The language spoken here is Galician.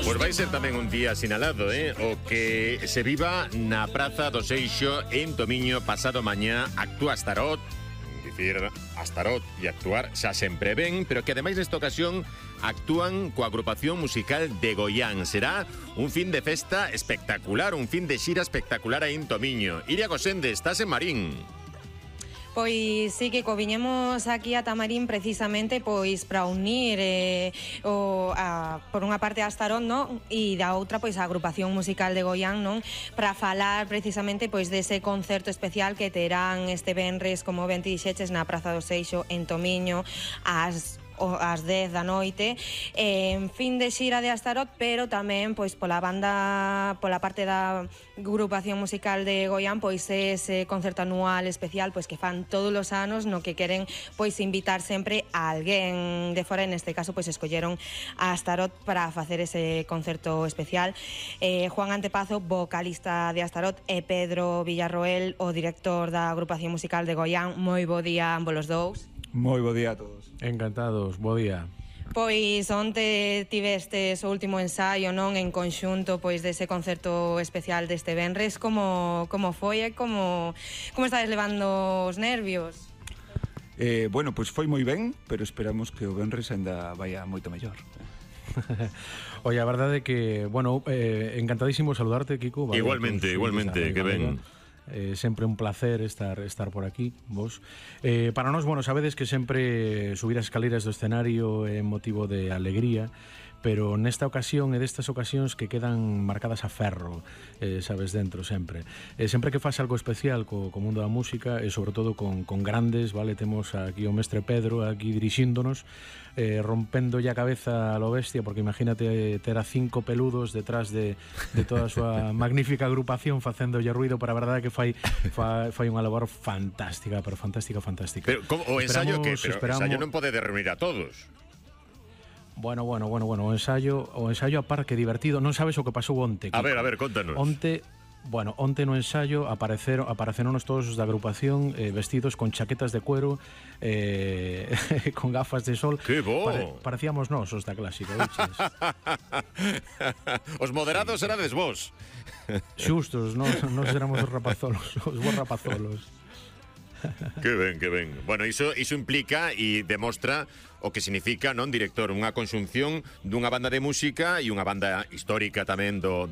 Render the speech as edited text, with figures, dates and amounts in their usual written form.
Pois vai ser tamén un día sinalado, o que se viva na Praza do Seixo en Tomiño pasado mañá. Actúa Astarot, dicir Astarot e actuar xa sempre ben, pero que ademais nesta ocasión actúan coa agrupación musical de Goián. Será un fin de festa espectacular, un fin de xira espectacular aí en Tomiño. Iria Gosende, estás en Marín. Pois sí que viñemos aquí a Tamarín precisamente pois para unir por unha parte a Astarot, non? E da outra pois a agrupación musical de Goián, non? Para falar precisamente pois dese concerto especial que terán este venres, como ben ti dixeches, na Praza do Seixo en Tomiño ás 10 da noite, en fin de xira de Astarot, pero tamén pois pola parte da agrupación musical de Goián, pois ese concerto anual especial pois que fan todos os anos, no que queren pois invitar sempre a alguén de fora. En este caso pois escolleron a Astarot para facer ese concerto especial. Juan Antepazo, vocalista de Astarot, e Pedro Villarroel, o director da agrupación musical de Goián. Moi bo día a ambos os dous. Moi bo día a todos. Encantados, bo día. Pois onte tivestes o último ensaio, non, en conxunto pois dese concerto especial deste venres. Como foi e como estades levando os nervios? Bueno, pois foi moi ben, pero esperamos que o venres ainda vaya moito mellor. Oye, a verdade é que, bueno, encantadísimo saludarte, Kiko. Vale, Igualmente, que ben. Sempre un placer estar por aquí, vos. Para nós, bueno, sabedes que sempre subir as escaleras do escenario é motivo de alegría, pero nesta ocasión e destas ocasións que quedan marcadas a ferro, sabes, dentro sempre. Sempre que faz algo especial co mundo da música e sobre todo con grandes, vale, temos aquí o mestre Pedro aquí dirixíndonos, rompendo a cabeza a lo bestia, porque imagínate ter a 5 peludos detrás de toda a súa magnífica agrupación facéndolle ruido, para a verdade que fai unha labor fantástica, pero fantástica. Pero o ensayo que, pero o ensayo non pode reunir a todos. Bueno, o ensayo a par que divertido. Non sabes o que pasou onte, Kiko. A ver, contanos. Onte no ensayo apareceronos todos os da agrupación vestidos con chaquetas de cuero, con gafas de sol. Que bo! Parecíamos nós os da clásica, viches? Os moderados erades vos. Xustos, nós éramos os rapazolos, os bons rapazolos. Que ben. Bueno, iso implica e demostra o que significa, non, director, unha conxunción dunha banda de música e unha banda histórica tamén do